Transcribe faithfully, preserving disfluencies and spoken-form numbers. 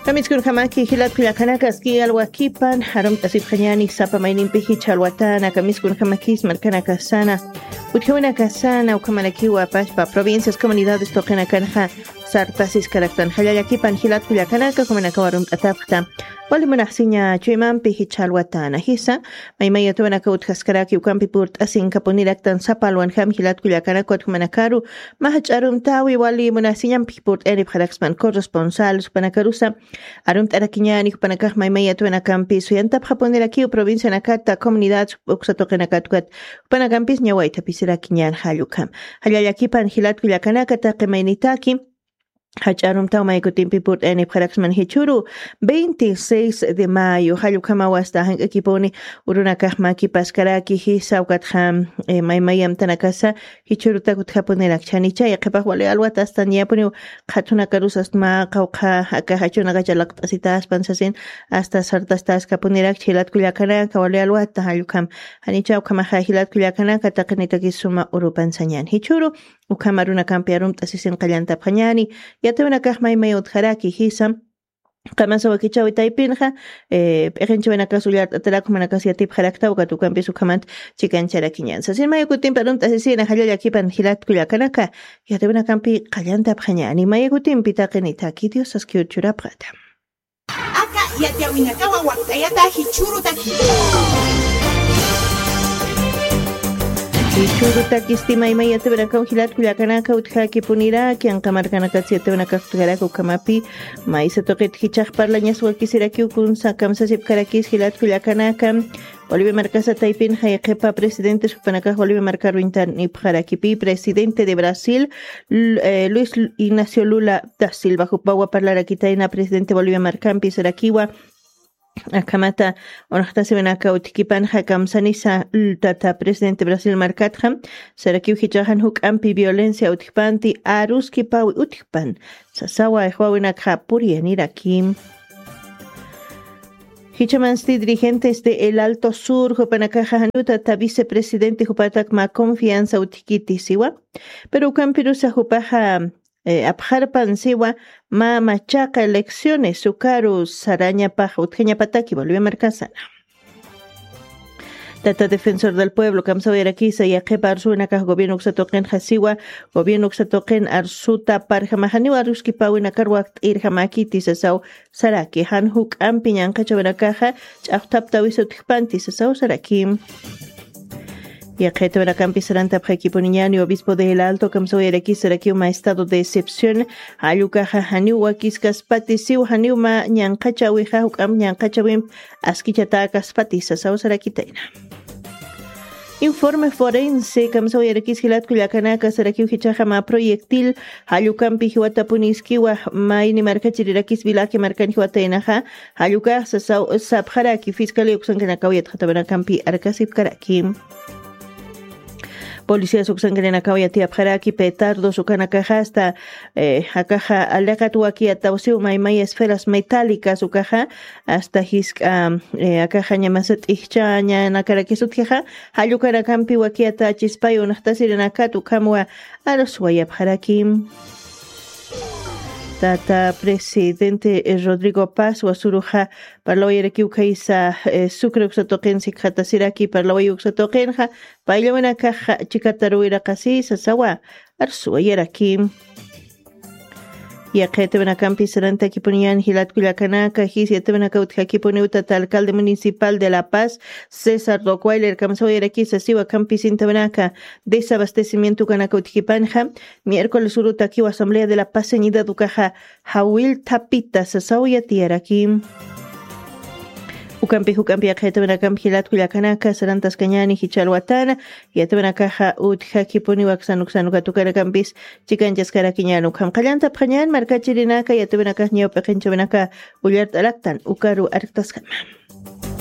Kamiskunjamaki jilat kullakanaka, aski alwakipan arumt'asipxañani sapa maynimpi jichha alwatana. Kamiskunjamakis markanakasana, utjawanakasana, ukhamanakipwa pachpa provincias, comunidades tuqinakanxa sartasis karaktan. Jallallakipan jilat kullakanaka, ukhamanakaw arumt'atapxta. Wali munaxsiña chuymampi jichha alwatana jisa, maymay yatwanaka utjaskaraki ukampi purt'asinkapuniraktan sapa alwanjam jilat kullakanaka, ukhamanakaru mä jach'a arumtäwi wali munaxsiñampi purt'ayanipxarakspan corresponsal jupanakarusa arumt'arakiñäni. Jupanakax maymay yatwanakampi suyantapxapunirakiw provincianakata, comunidad uksa tuqinakatukat, jupanakampis ñawaythapisirakiñän jall ukham. Jallallakipan jilat kullakanaka, taqi maynitaki jach'a arumtaw maykutimpi purt'ayanipxaraksman jichhüru veintiséis de mayo, jall ukhamaw asta jank'akipuni urunakax mäkipaskaraki jisa, ukatxa eh, maymay amtanakasa jichhürutak utjapunirakchanicha, yaqhipax wali alwat asta niyapuniw qhathunakarus asta mä qawqha aka jachunakacha laqt'asitaspan sasin, asta sartastaskapunirakicha jilat kullakanaka, wali alwata jall ukham. Janicha ukhamaxa jilat kullakanaka, taqinitakis suma urupan sañän jichhüru, ukham arunakampi arumt'asisin qallantapxañäni. Yatawinakax maymay utjaraki jisa, qamasa wakichäwi taypinxa eh, p'iqinchawinakas ullart'atarak, jumanakas yatipxarakta, ukat ukampis ukhamat chikancharakiñän sasin. Mayakutimpi arumt'asisina, jallallakipan jilat kullakanaka, yatawinakampi qallantapxañäni. Mayakutimpi taqinitaki Dios askiw churapxata. Aka yatiyawinakawa wakt'ayata jichhürutaki. Jichhürutakisti maymay yatawinakaw jilat kullakanaka, utjakipuniraki, anqa markanakats yatawinakax utjaraki ukhamapi, maysa tuqit jichhax parlañas wakisirakiw kunsa kamsasipkarakis jilat kullakanaka. Bolivia markasa taypinxa yaqhipa presidentes jupanakax Bolivia markaru intanipxarakipi, presidente de Brasil, L- eh, Luis Ignacio Lula da Silva jupawa parlarakitayna, presidente Bolivia markampi sarakiwa, akhamata unxtasiwinaka utjkipanxa kamsanisa, l- tata presidente Brasil markatxa sarakiw jichhaxan juk'ampi violencia utjpanti, aruskipawi utjpan sasawa, ixwawinakxa puriyaniraki. Jichhamansti dirigentes de El Alto Sur jupanakaxa janiw tata vicepresidente jupatak mä confianza utjkiti siwa, pero ukampirusa jupaxa eh, apxarpan siwa, mä machaqa elecciones ukaru sarañapax utjañapataki Bolivia markasana. Tata Defensor del Pueblo kamsawirakisa, yaqhipa arsuwinakax gobierno uksa tuqinxa siwa, gobierno uksa tuqin arsuta parjamaxaniw aruskipawinakar wakt'irjamäkiti sasaw saraki, jan juk'ampi ñanqhachawinakaxa ch'axthaptawisa utjpanti sasaw saraki. Yaqhitawinakampi sarantapxakipuniñäni, obispo de El Alto kamsawirakisa sarakiw mä estado de excepción, jall ukaxa janiw wakiskaspati siw, janiw mä ñanqhachawixa juk'amp ñanqhachawimp askichatäkaspati sasaw sarakitayna. Informe forense kamsawirakis jilat kullakanaka, sarakiw jichhaxa mä proyectil jall ukampi jiwatapuniskiwa, mayni markachirirakis Vilaki markan jiwataynaxa, jall ukax sasaw sapxaraki fiscalía uksankanakaw yatxatawinakampi arkasipkaraki. Policías uksankanakaw yatiyapxaraki petardos ukanakaxa asta eh, akaxa aliqat wakiyataw siw maymay esferas metálicas ukaxa, asta jisk'a eh, akaxa ñamasa t'ijchañanakarakis utjixa, jall ukanakampi wakiyatachispay unxtasirinakat ukhamwa arswayapxaraki. Tata presidente eh, Rodrigo Paz wasuruxa parlawayarakiw khaysa eh, Sucre uksa tuqin sikxatasiraki, parlaway uksa tuqinxa payllawinakaxa chikataruwiraqasi sasawa arswayaraki. Yaqhitawinakampi sarantakipuniñäni jilat kullakanaka, jis yatawinaka utjakipuniw tata alcalde municipal de La Paz, César Rockweiler kamsawirakisa siwa, kampisintawinaka desabastecimiento ukanaka utjipanxa miércoles urutakiw Asamblea de la Paz Señidad ukaxa jawillthapita sasaw yatiyaraki. Ukampi juk'ampi yaqhitawinakampi jilat kullakanaka sarantaskañäni jichha alwatana, yatawinakaxa utjakipuniw aksan uksan ukat ukanakampis chikanchaskarakiñäni. Ukham qallantapxañäni markachirinaka, yatawinakax ñaw p'iqinchawinaka ullart'araktan ukaru arktaskama.